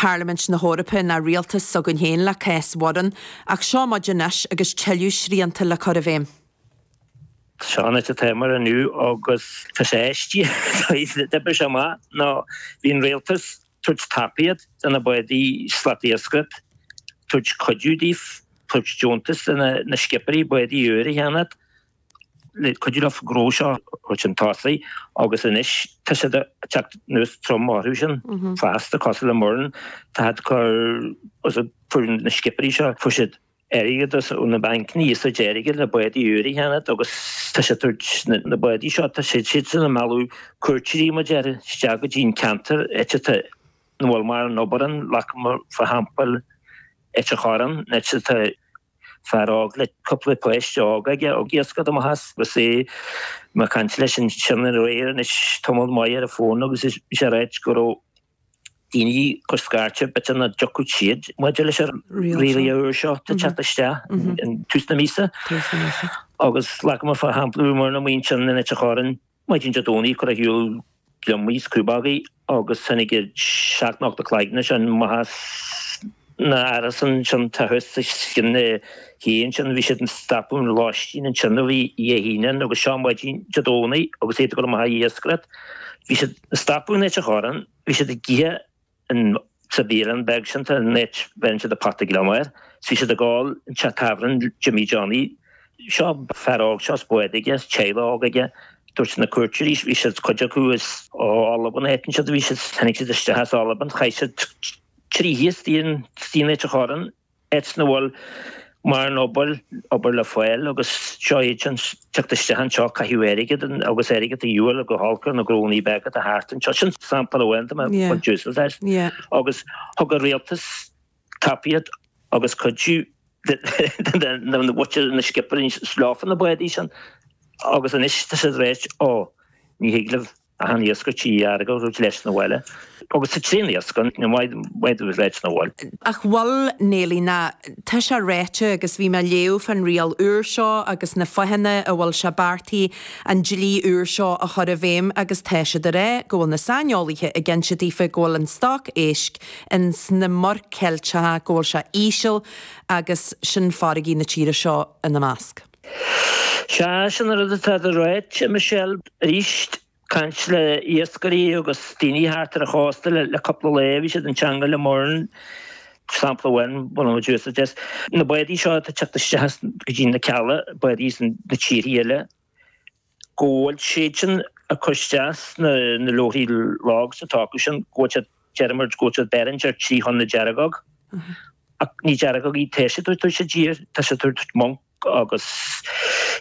Parlaimint na hEorpa ná rialtas s'againn féin le cás Mhurrin, ach seo muid anois agus tuilleadh srianta le cur i bhfeidhm. Seo an áit atáimar inniu agus tá sé aisteach, d'oibrigh sé amach nó bhí an rialtas tabhairt tacaíocht do na bádaí slatiascaireacht, tabhairt cuidiú daofa, tabhairt deontas do na scipeáirí bádaí úr a cheannacht, le cuidiú leo gnó seo a thabhairt chun tosaigh agus anois tá siad ag teacht anuas trom orthu sin feasta, cosúil le Murrin, tá siad ag cur, fuair na scipeáirí seo, fuair siad airgead ó na bancanna, iasacht airgid le bádaí úr a cheannacht agus tá siad ag tabhairt na bádaí seo, tá siad siadsan ag mealladh cuairteoirí mar a déarfá isteach go dtí an ceantar áit atá nach bhfuil mórán obair ann, like mar shampla Ailt an Chorráin, áit atá Fear óg le cúpla páiste óg aige ag iascaireacht amach as agus é ag caint leis ansin aréir anois tamall maith ar an bhfón agus bhí sé ag ráit go raibh daoine ag cur scairte b'fhéidir nach dtiocfadh siad maidir leis an rialacha úr seo atá ag teacht isteach in tús na míosa. Agus like mar shampla bhí muid amuigh ansin in Ailt an Chorráin Maidin Dé Domhnaigh ag cur ar shiúl gliomaigh is crúbógaí agus tháinig idir sheacht nó ocht de chloigne ansin amach as na árasáin ansin tá thuas os cionn na cé ansin. Bhí siad ag stopadh an lóistín ansin ó bhí Dé hAoine ann agus seo maidin Dé Domhnaigh agus iad ag dul amach ag iascaireacht. Bhí siad ag stopadh in Ailt an Chorráin, bhí siad ag ithe in sa bhialann beag sin tá an áit bheireann siad an pota gliomach air. 's bhí siad ag ól in teach tábhairne Jimmy Johnny. Seo fear óg seo is bád aige is teaghlach óg aige. Dúirt na cuairteoirí bhí siad cuid acu as ó Albain a fheiceann siad bhí siad tháinig siad isteach as Albain chaith siad trí oíche istigh in istigh in Ailt an Chorráin. Áit nach bhfuil mórán obair, obair le fáil agus seo iad sin teacht isteach anseo ag caitheamh airgid agus airgead de dhíobháil go holc ar na gnónnaí beaga atá thart anseo. Sin sampla amháin de mo chuid úsáid as. Agus thug an rialtas tacaíocht agus cuidiú do na mhuintir na scipeáirí leofa na bádaí sin agus anois tá siad ag ráit ó ní thig libh achan iasc trí airgead a thabhairt leis 'na bhaile agus tá tréan iasc ann, ní maith dóibh leis 'na bhaile. Ach bhfuil, Neilí, ná tá sé ráite agus bhí mé ag léamh fán riail úr seo agus na fáthanna a bhfuil sé beartaithe an dlí úr seo a chur i bhfeidhm agus tá siad ag rá go bhfuil na saineolaithe ag inse daofa go bhfuil an stoc éisc ins na Muir Ceilteacha go bhfuil sé íseal agus sin farraigí na tíre seo ina measc. Sea, sin an rud atá á ráit, a Michelle. Arís, caint le iascairí agus daoine thart ar an chósta le cúpla lá, bhí siad in teangmháil le Murrin, sampla amháin, baineann muid úsáid as na bádaí seo atá ag teacht isteach go dtí na Cealla, bádaí as na tíortha eile, go bhfuil siad sin ag cur isteach sna leabharthaí logs atá acu sin, go bhfuil siad, deir muid, go bhfuil siad beireann ar 3 thonna deargóg. Ach ní deargógaí tá siad ag tabhairt i dtír, tá siad ag tabhairt monk agus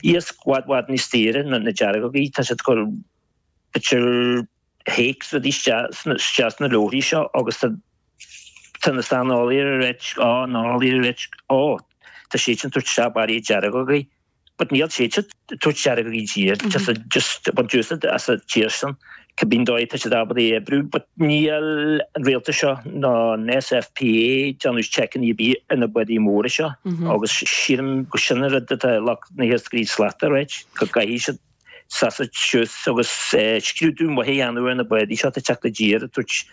iasc i bhfad bhfad níos daoire ná na deargógaí, tá siad ag cur b'fhéidir hakes rudaí isteach isteach sna leabharthaí seo agus tá tá na saineolaithe ag ráit, á, na heolaithe ag ráit, ó, tá siad sin ag tabhairt isteach barraí deargógaí. But níl siad ag tabhairt deargógaí i dtír, just a, just a baint úsáid as an tír sin. Cibé dóigh tá siad ábalta é a oibriú, but níl an rialtas seo ná an SFPA ag déanamh checkanna ar bith ar na bádaí móra seo agus sílim go sin an rud atá lucht na hiascairí slata, right, go gcaithfidh siad seasamh suas agus scrúdú maith a dhéanamh ar na bádaí seo atá ag teacht i dtír ag tabhairt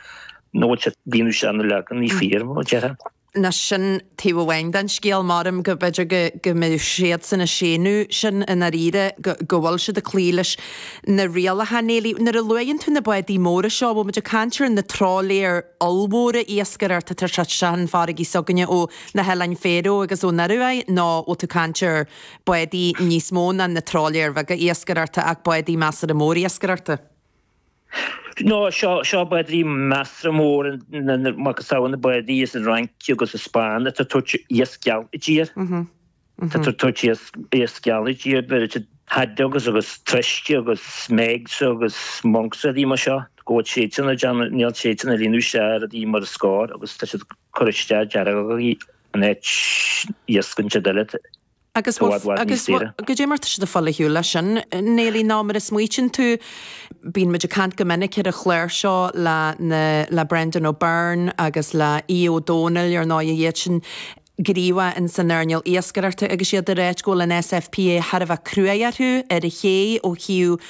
nó bhfuil siad ag líonadh isteach na logannaí fíor, mar a déarfá. Nó sin taobh amháin den scéal, maram go mb'fhéidir go go mbeadh siadsan ag séanadh sin i ndáiríre, go go bhfuil siad ag cloí leis na rialacha. Neilí, nuair a luaigheann tú na bádaí móra seo, bhfuil muid ag caint ar na trálaeir ollmhóra iascaireachta atá ag teacht isteach chun farraigí s'againne ó na hOileáin Faroe agus ón Ioruaidh nó bhfuil tú ag caint ar bádaí níos mó ná na trálaeir bheaga iascaireachta ach bádaí measartha mór iascaireachta? No, seo, seo bádaí measartha mór, macasamhail na bádaí as an Fhrainc agus an Spáinn atá ag tabhairt iasc geal i dtír. Tá ag tabhairt iasc, iasc geal i dtír, beireann siad haddocks agus troisc agus smegs agus monks rudaí mar seo, go bhfuil siad sin ag déanamh, níl siad sin ag líonadh isteach rudaí mar is cóir agus tá siad ag cur isteach deargógaí in áit iasc an siad eile. Agus bhfuil, agus bhfuil, goidé mar tá siad ag fáil ar shiúl leis sin, Neilí, nó mar a smaoitíonn tú, bíonn muid ag caint go minic ar an chlár seo le na, le Brendan O'Byrne agus le Aodh Ó Dónaill, ar ndóigh, iad sin gníomhach in san earnáil iascaireachta agus iad ag ráit go bhfuil an SFPA thar a bheith cruaidh orthu ar an ché ó thaobh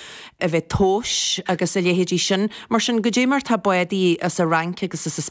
a bheith tomhais agus a leithéidí sin. Mar sin, goidé mar tá bádaí as an Fhrainc agus as an.